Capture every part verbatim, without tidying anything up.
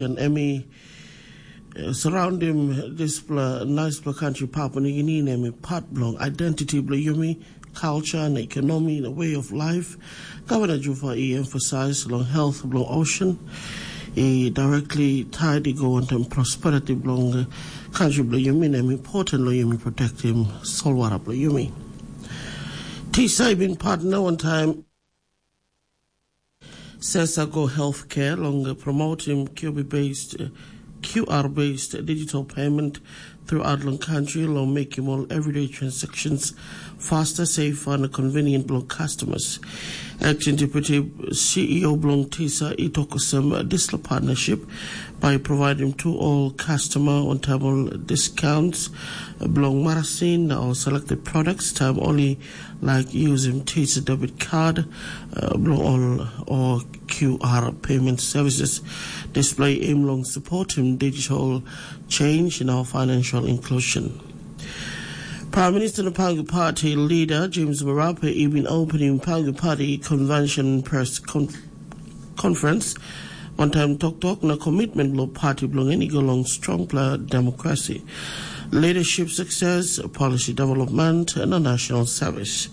Em i eh, surroundim dispela naispela kantri Papua Nugini, na em i part bilong identity bilong yumi, culture na economy na way of life. Governor Jufa i emphasize long health bilong ocean i directly tied i go wantaim prosperity bilong eh, kantri bilong yumi, na em important long yumi protectim solwara bilong yumi. Tisa i bin partner wantaim Sesago Healthcare long promoting Q B based, uh, Q R based digital payment throughout long country long making all everyday transactions faster, safer and convenient long customers. Acting Deputy C E O Blong Tisa Itokosem, uh, this partnership by providing to all customer on table discounts, uh, Blong Marasin or selected products time only like using Tisa debit card, uh, Blong All or Q R payment services. Display aim long supporting digital change in our financial inclusion. Prime Minister na Pangu Party leader James Marape even opening Pangu Party convention press con- conference. Wantaim toktok na komitmen bilong party bilong en i go long strongpela demokrasi, leadership success, policy development na national service.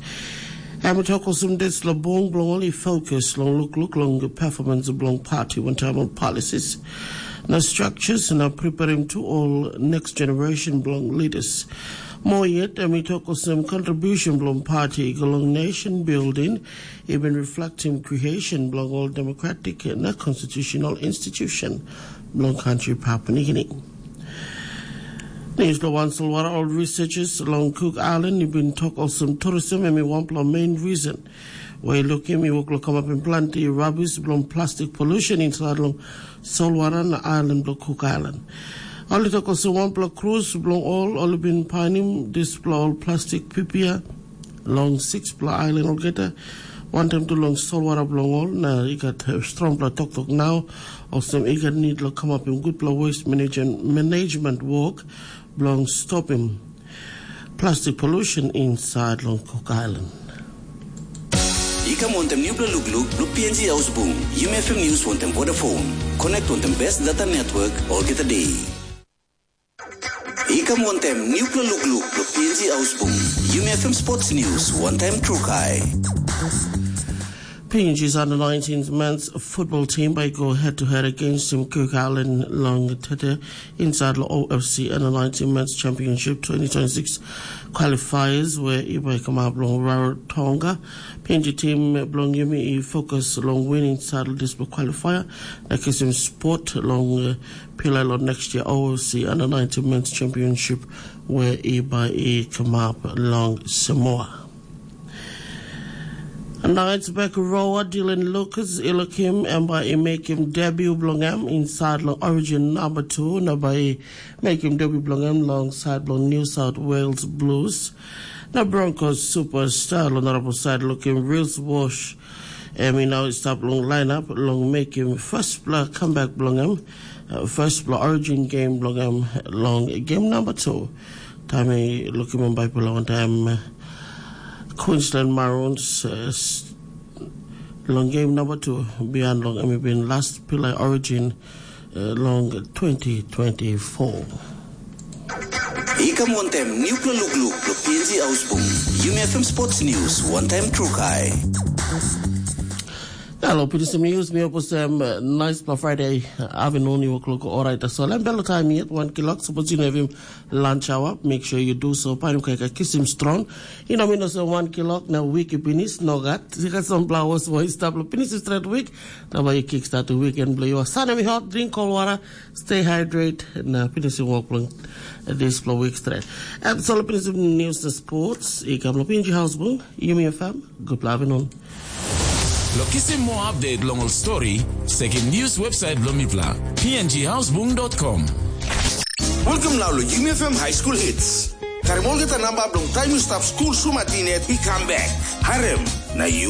Em i tok olsem dispela bung bilong ol i fokus long lukluk long performance bilong party wantaim ol policies na structures na preparing to all next generation bilong leaders. Moa yet, em i tok olsem contribution bilong party i go long nation building, i bin reflecting creation bilong ol democratic na constitutional institution bilong country Papua New Guinea. News lo wan solwara ol researchers long Cook Island i bin tok olsem tourism em i wanpela main reason where lukim i wok lo kamapim planti rubbish bilong plastic pollution inside long solwara na island bilong Cook Island. Ol i tok olsem wanpela cruise bilong ol ol i bin painim dispela ol plastik pipia long sikspela ailan olgeta. Wantaim tu long solwara bilong ol na i gat eh, strongpela toktok nau olsem i gat nid long kamapim gutpela waste management, management work bilong stopim plastic pollution inside long Cook Island. I kam wantem nupela lukluk lo P N G Ausbung, Yumi F M News wantem Vodafone. Connect wantem best data network olgeta day. I kam wantem nupela lukluk lo P N G Ausbung, Yumi F M Sports News wantem Trukai. P N G's under nineteen men's football team by go head to head against Team Cook Island long Tete inside the O F C under nineteen men's championship twenty twenty-six qualifiers where i by come up long Rarotonga. P N G team belong Yumi i focus long winning saddle this qualifier na kisim spot long uh, Pilai long next year O F C under nineteen men's championship where i by i come up long Samoa. Knights back rower Dylan Lucas i lukim em bai i mekim debut bilong em inside long Origin number two na bai i mekim debut bilong em long side bilong New South Wales Blues. Na Broncos superstar long narapol side lukim Reels Wash em i nau i stap long lineup long mekim firstpela comeback bilong em, uh, firstpela Origin game bilong em long game number two. Taim i lukim em baipela wantaim Queensland Maroons uh, long game number two bihain long em i bin last pilai Origin uh, long twenty twenty-four. I kam wantem nupela lukluk lo P N G Ausbung, Yumi F M Sports News wantem Trukai. Hello, P T C News. Mi opusem uh, nice pa Friday uh, afternoon. You work look all right. So, I'm bello time yet one kilok. Suppose you know him lunch hour. Make sure you do so. Paim kai kisim strong. You know, mi no se one kilok na week pinis no gat. Tika some flowers for his table. Pinis straight week. Na bai kick start the weekend blow you. Sana mi hot, drink cold water, stay hydrated. Na pinis work long this blow week straight. Absolutely pinis news the sports. Ikam lo P N G House Bung. Yumi F M. Good afternoon. Lo kisim more update long ol story, sekim news website bilong mipela, P N G housebung dot com. Welcome now lo Yumi F M High School Hits. Karim olgeta namba bilong taim yu stap skul sumatin yet i kam bek. Harem, na yu